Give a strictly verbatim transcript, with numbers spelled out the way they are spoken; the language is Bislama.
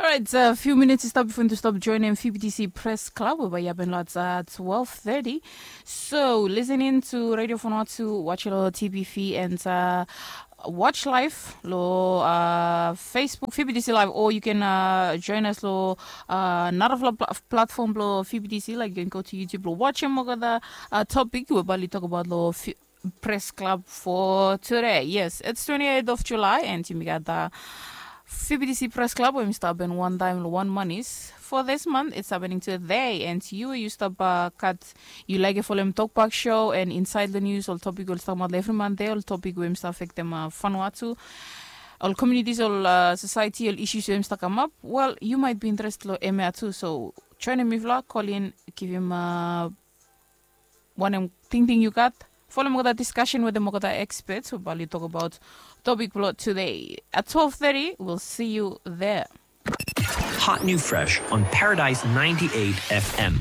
Orait, a fiu minits i stap bifo yumi tu stap joinim Fibitisi Pres Klab we bai i hapen long twelve thirty. So, listening to Radio Vanuatu, watch lo T V V and uh, watch live lo uh, Facebook Fibitisi Live, or you can uh, join us lo uh, narafala pla- platform lo Fibitisi, like you can go to YouTube lo watch him over the uh, topic we bali talk about lo fi- Press Club for today. Yes, it's twenty-eighth of July and yumi gat the F B T C Press Club we mi stap happen one time lo one manis. For this month, it's happening today and you, you stap uh, kat, you like folem Tokpak Show and inside the news ol topic we ol stap mat lo every Monday, ol topic we mi stap affectem uh, Vanuatu, ol communities, ol uh, society, ol issues we mi stap kamap. Well, you might be interested lo M A too, so join mifala, call in, give him uh, wanem tingting yu gat. Folem olgeta discussion wetem olgeta experts we bali tok abaot topic blo today. At twelve thirty, we'll see you there. Hot new fresh on Paradise ninety-eight F M.